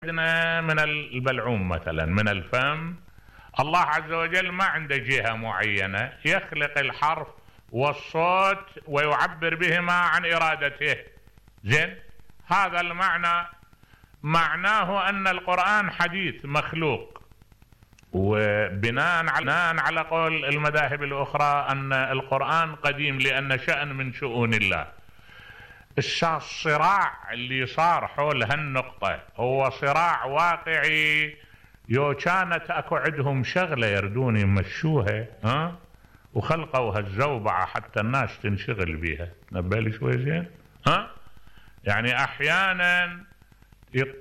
عندنا من البلعوم مثلا من الفم. الله عز وجل ما عنده جهة معينة، يخلق الحرف والصوت ويعبر بهما عن إرادته. زين، هذا المعنى معناه أن القرآن حديث مخلوق، وبناء على قول المذاهب الأخرى أن القرآن قديم لأن شأن من شؤون الله. الصراع اللي صار حول هالنقطة هو صراع واقعي، يو كانت اكو عندهم شغلة يردون يمشوها وخلقوا هالزوبعة حتى الناس تنشغل بيها. نبالي شوي زين. يعني احيانا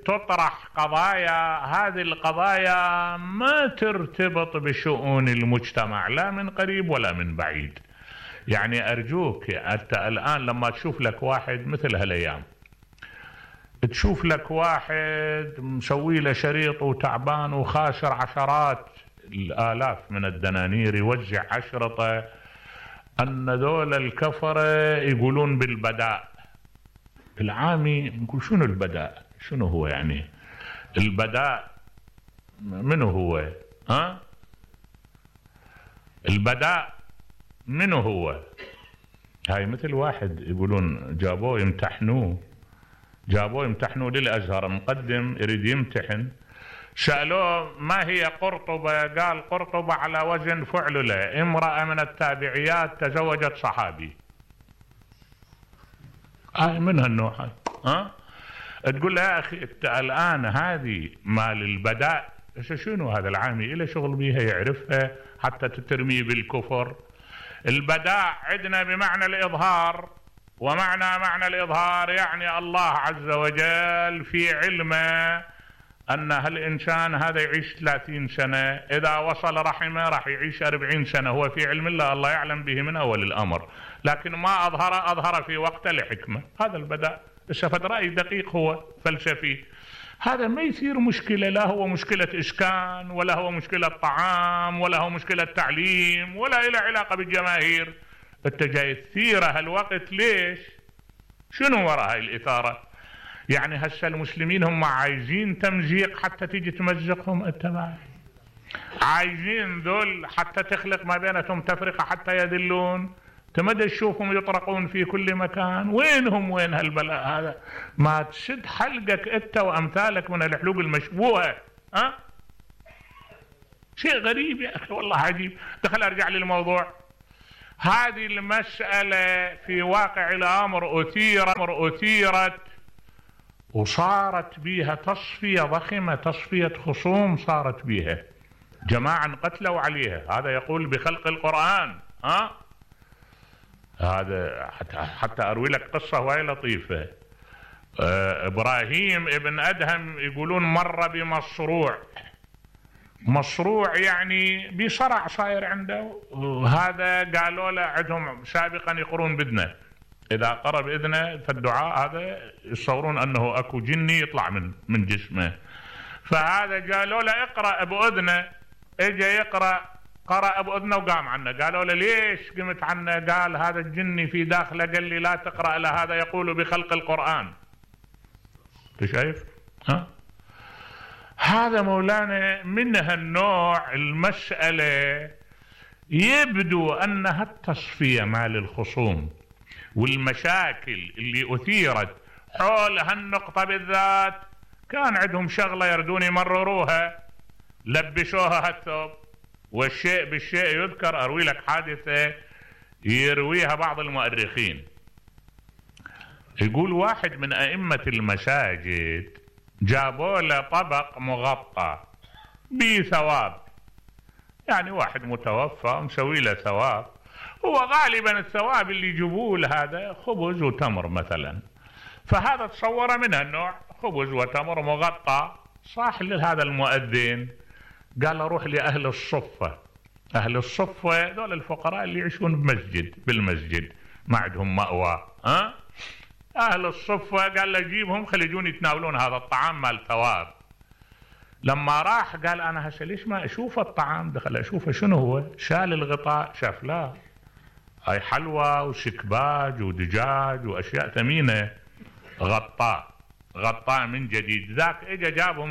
تطرح قضايا، هذه القضايا ما ترتبط بشؤون المجتمع لا من قريب ولا من بعيد. يعني أرجوك أنت الآن لما تشوف لك واحد مثل هالأيام، تشوف لك واحد مسوي له شريط وتعبان وخاسر عشرات الآلاف من الدنانير يوزع أشرطة، أن ذول الكفرة يقولون بالبداء. العامي نقول شنو البداء؟ شنو هو يعني البداء؟ منو هو؟ البداء منو هو؟ هاي مثل واحد يقولون جابوه يمتحنوه للأزهر، مقدم يريد يمتحن، سألوه ما هي قرطبة؟ قال قرطبة على وزن فعللة، امرأة من التابعيات تزوجت صحابي. من هالنوع هاي. تقول له يا أخي انت الآن هذه مال البداء شنو؟ هذا العامي إله شغل بيها يعرفها حتى تترمي بالكفر. البداء عندنا بمعنى الإظهار، معنى الإظهار يعني الله عز وجل في علمه أن هالإنسان هذا يعيش 30 سنة، إذا وصل رحمه راح يعيش 40 سنة، هو في علم الله، الله يعلم به من أول الأمر، لكن ما أظهر في وقت لحكمة. هذا البداء. استفاد رأي دقيق هو فلسفي، هذا ما يصير مشكلة، لا هو مشكلة إسكان ولا هو مشكلة طعام ولا هو مشكلة تعليم ولا إلى علاقة بالجماهير. انت جاي تثير هالوقت ليش؟ شنو وراء هاي الإثارة؟ يعني هسه المسلمين هم عايزين تمزيق حتى تيجي تمزقهم، انت عايزين ذول حتى تخلق ما بينهم تفرقة حتى يذلون، تمدى تشوفهم يطرقون في كل مكان. وين هالبلاء هذا؟ ما تشد حلقك انت وامثالك من الحلوق المشبوهة. شيء غريب يا اخي والله عجيب. دخل ارجع للموضوع. هذه المسألة في واقع الامر اثيرت وصارت بيها تصفية ضخمة، تصفية خصوم صارت بيها، جماعة انقتلوا عليها. هذا يقول بخلق القرآن. هذا حتى أروي لك قصة وهي لطيفة. إبراهيم ابن أدهم يقولون مر بمصروع يعني بصرع صاير عنده، وهذا قالوا له عندهم سابقا يقرون بإذنه، إذا قرب إذنه في الدعاء هذا يصورون أنه أكو جني يطلع من جسمه. فهذا قالوا له اقرأ بأذنه، اجى يقرأ، قرأ بأذنه وقام عنه. قالوا له ليش قمت عنه؟ قال هذا الجني في داخله قال لي لا تقرأ له، هذا يقول بخلق القرآن. شايف؟ هذا مولانا من هالنوع المسألة يبدو أنها التصفية مال الخصوم والمشاكل اللي أثيرت حول هالنقطة بالذات، كان عندهم شغلة يردون يمرروها، لبشوها هالثوب. والشيء بالشيء يذكر. أروي لك حادثة يرويها بعض المؤرخين. يقول واحد من أئمة المساجد جابوا له طبق مغطى بثواب، يعني واحد متوفى مسوي له ثواب، هو غالبا الثواب اللي يجيبوه هذا خبز وتمر مثلا، فهذا تصور من النوع خبز وتمر مغطى. صاح لهذا المؤذن قال روح لأهل الصفة. أهل الصفة دول الفقراء اللي يعيشون بالمسجد ما عندهم مأوى. أهل الصفة قال له جيبهم خليجون يتناولون هذا الطعام مال ثواب. لما راح قال أنا هسه ليش ما أشوف الطعام؟ دخل أشوفه شنو هو؟ شال الغطاء، شاف لا هاي حلوى وسكباج ودجاج وأشياء ثمينة، غطاء من جديد. ذاك إجا جابهم